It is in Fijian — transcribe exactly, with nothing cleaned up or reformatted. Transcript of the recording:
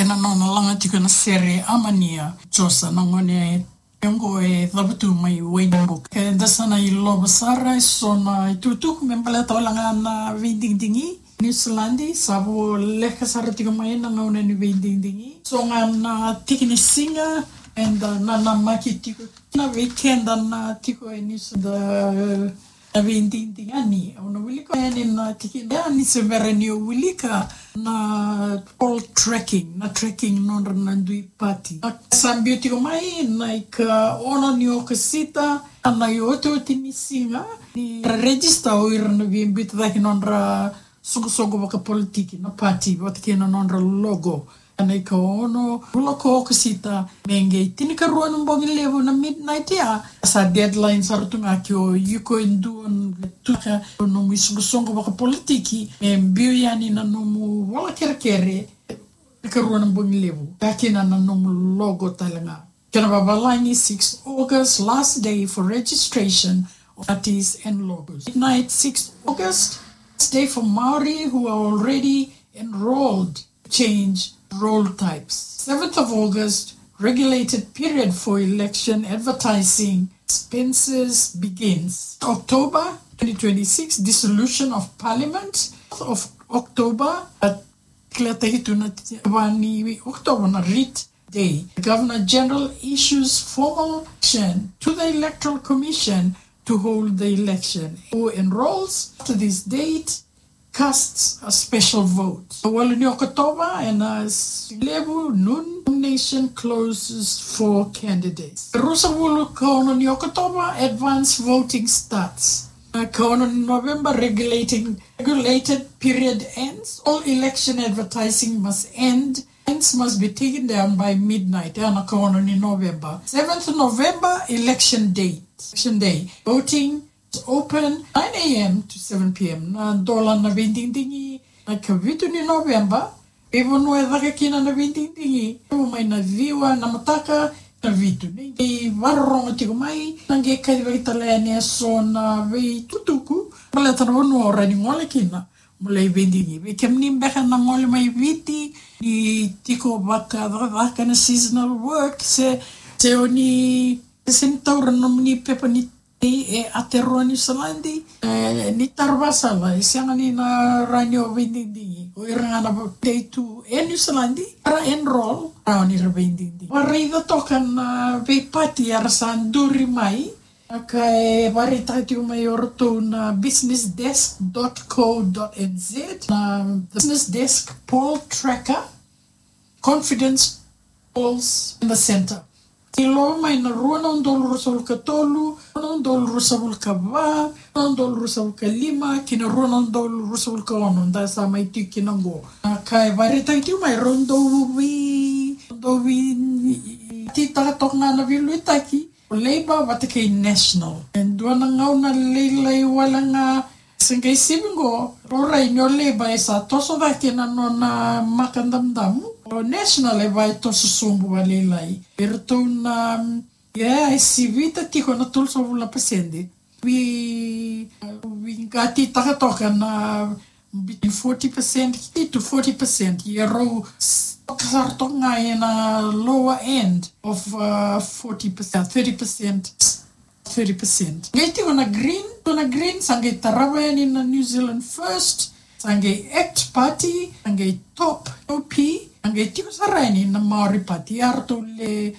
Na nona laga tiko na sere Amania Josa, na gone oqo e cavutu mai Wainibuka. Eda sa na ilova sara eso na itukutuku me baleta wale ga na veidigidigi. Niusiladi sa voleka sara tiko mai na gauna ni veidigidigi. So ga na tiki ni siga eda nanamaki tiko na vei keda na tiko e Niusiladi. Na veidigidigi yani, au na wilika yani na tikina yani se bera niu wilika na poll tracking, na tracking nodra na dui pati. Sa biu tiko mai na ikaono ni Okosita, na iotioti ni siga ni register o ira na via biuta cake nodra soqosoqo vakapolitiki, na pati vata kei na nodra logo. Na ikaono vula ko Okosita me qai tinikarua na bogi levu na midnight ya. Sa deadline sara tu ga ke o iko e dua na tuka o nomu isoqosoqo vakapolitiki me biu yani na nomu vola kerekere. Tinikarua na bogi levu, vata kei na nomu logo tale ga. Kena vavalagi, six August, last day for registration of parties and logos. Midnight, six August, last day for Maori who are already enrolled change roll types. Seventh of August, regulated period for election advertising expenses begins. October twenty twenty-six, dissolution of parliament. Of October, a declare tu na vani October na writ day. The Governor General issues formal action to the Electoral Commission to hold the election. Who enrolls after this date casts a special vote. Walu ni Okotova ena siga levu, noon, nomination closes for candidates. Ruasagavulu ka ono ni Okotova, advance voting starts. Na ka ono ni November, regulating, regulated period ends. All election advertising must end. Signs must be taken down by midnight. Ena ka ono ni November. Seventh November, election day. Election day. Voting open nine a.m. to seven p.m. Na dola na veidigidigi na ikavitu ni November. Veivanua e caka kina na veidigidigi, mai na ciwa na mataka na vitu. Ni qai vakarorogo tiko mai, na qai kacivaki tale yani eso na veitukutuku baleta na vanua o rawa ni gole kina mo lai veidigidigi. Vei kemuni beka na gole mai Viti, ni tiko vakacakacaka na seasonal work, se, se o ni, se ni taura nomuni pepa ni e, e Aotearoa Niusiladi, e, ni tara vakasala, e sega ni na rawa ni o veidigidigi. O ira ga na vakaitei tu e Niusiladi, era enrol, rawa ni ra veidigidigi. Vakaraica toka na veipati era sa duri mai, ka e vakaraitaki tiko mai o ratou na business desk dot co dot N Z, na business desk poll tracker, confidence polls in the center. Ni loma mai na rua na udolu ruasagavulu ka tolu, rua na udolu ruasagavulu ka va, rua na udolu ruasagavulu ka lima, kei na rua na udolu ruasagavulu ka ono, da sa mai tiko kina qo. Na ka e vakaraitaki tiko mai, rau dau vei, dau veititaka toka ga na veiliutaki o Labour vata kei National. E dua na gauna lailai wale ga se qai sivi qo, rau rai ni o Labour e sa toso cake na nona maka damudamu. O National e vaka e toso sobu vakalailai. E ratou na, ia, e sivita tiko na tolusagavulu na pasede. Vei, veiqatitaka toka na between forty percent to forty percent. Ia rau s-, toka sara toka ga ena lower end of, uh, forty percent, thirty percent. Thirty percent. Qai tiko na Green, tiko na Green, sa qai tarava yani na New Zealand First, sa qai ACT Party, sa qai TOP, O P, sa qai tiko sara yani na Maori Party, eratou le